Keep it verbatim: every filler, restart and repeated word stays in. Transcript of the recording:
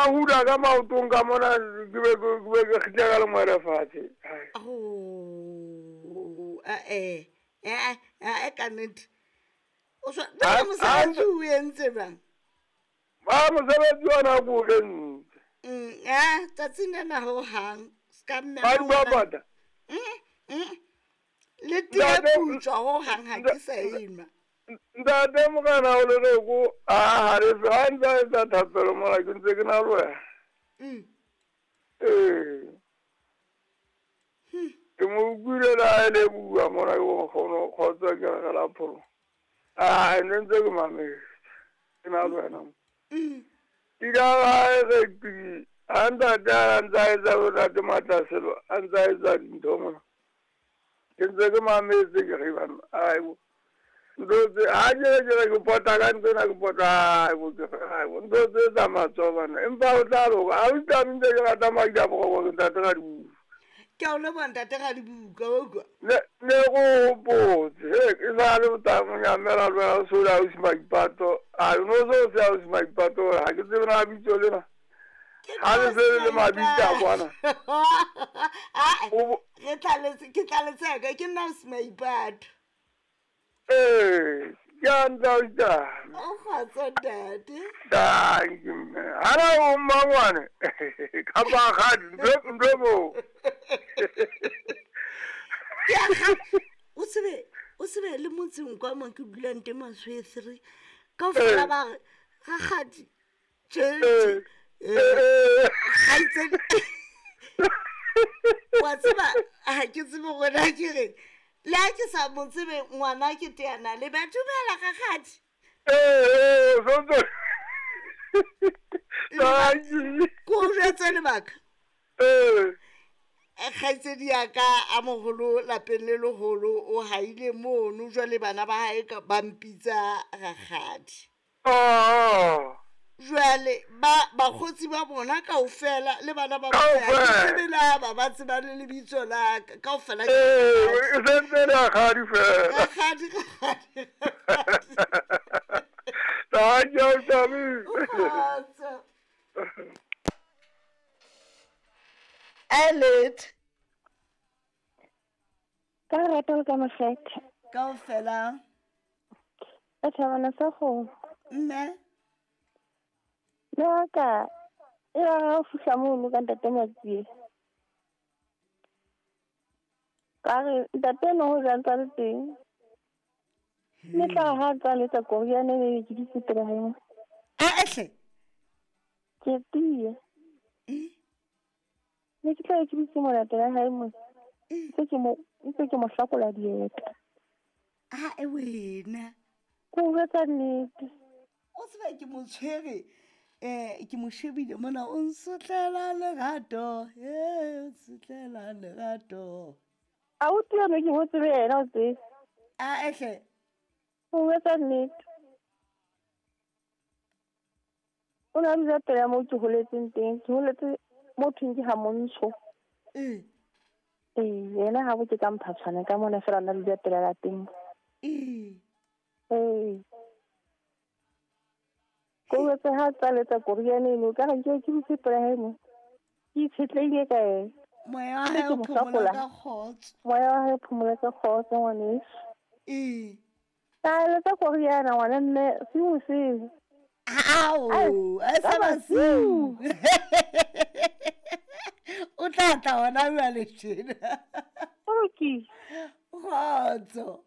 ba hula ka maotong ka mona ke be ke be ke kgitla ka lengwele fatshe. Oh, eh eh eh ka nnete. O so ba mosebetsi o entse bang? Ba mosebetsi ona ko o entse. Mm, eh tsatsing lena ho hang ska mme. Ba di bapata. Mm. Mm. Le tee putswa ho hang ha ke sa enwa. Ntate Morena o le reko a halefe ha ntse a etsa thapelo mona ke ntse ke na le wena. Mm. Ee. Ke mo utlwile le ha e le bua mona ke nkgono kgotsa ke re la pholo. Ah, ne ntse ke mametse. Ke na le wena. Mm. Ke ka ha re ke ha ntate a ntse a etsa bontate Matlaselo a ntse a etsa dintho mona. Ke ntse ke mametse ke re bana ai bo. Ntho tse ha ke re ke re ke pota ka ntho ena ke pota ai bo ke re ai bo ntho tse tsa matsoho bana empa o tla loka ha o tla ntse ke rata madi a boroko ke ntate Radibuka. Ke a o leboha ntate Radibuka wa utlwa. Ne ne go hopotse he ke sa le botang nyamela le wena o so le ausi Maipato a no so se ausi Maipato ha ke tsebe na bitso lena. Ha le se le mabitso a kwana. Ah, O bo- re tlaletse ke tlaletse ka ke nna ausi Maipato. Ee, ke a ntse ausi Tami. O kgotso ntate. Thank you mme. Hana o mmangwane kapa rakgadi ntho ntho e moo. Ke a kga- o tsebe o tsebe le motseng kwa mo ke dulang teng Maswe three kaofela Ee. ba re rakgadi tje Ee. eh Ee. kgaitsedi wa tseba ha ke tsebe hore na ke reng le ha ke sa mo tsebe ngwana ke teana le ba dumela rakgadi. Ee, ee, so ntso. Lebaka Thank you. ko o jwetse lebaka. Ee. Kgaitsedi ya ka a moholo lapeng le leholo o haile mono jwale bana ba hae ka ba mpitsa rakgadi. Oh. Jwale ba bakgotsi ba bona kaofela le bana ba bona ha ke Kaofela. tsebe le ha ba ba tseba le lebitso la ka kaofela ke Ee, rakgadi. e sentse le rakgadi fela. Rakgadi rakgadi rakgadi. Thank you, Tami. Kgotso. Elet Ka lerato le ka makgethe. kaofela Ka thabana sa kgomo. mme Le wa ka e ba ha o fihla mono ka ntate Matsie. Ka re ntate eno ho ja ntse a le teng. Mme tla re ha a tsa letsa koriana ene ke dutse pela hae mona. Ah hle. Ke tiya. Ne ke tla be ke dutse mona pela hae mona. Ntse ke mo ntse ke mo hlakola dieta. Ah e wena. Ko o jwetsa nnete. O tseba ke mo tshwere eh ke mo shebile mona o nsotlela lerato eh o nsotlela lerato. Abuti eno ke mo tsebe yena o tsebe. Ah ehle. O jwetsa nnete. O ne a dula pela moo ke holetseng teng. Ke holetse mo thweng ke ha Montsho. Eh. Ee, yena habo ke ka Mphatshwane ka mona feela a na dula pela lapeng. Eh. Ee. Ko jwetse ha tsa letsa koriana eno ka re nke ke dutse pela hae mona. Ke itshetlehile ka yena. Moya wa Ntse hae ke o mo phomola hlakola. ka kgotso. Moya wa hae o phomola ka kgotso ngwaneso. Eh. Ka letsa koriana ngwana mme siu seo. Ao, Ai, a ka sa basiu. basiu. O tla tla hona jwale tjena. Ho lokile. Kgotso.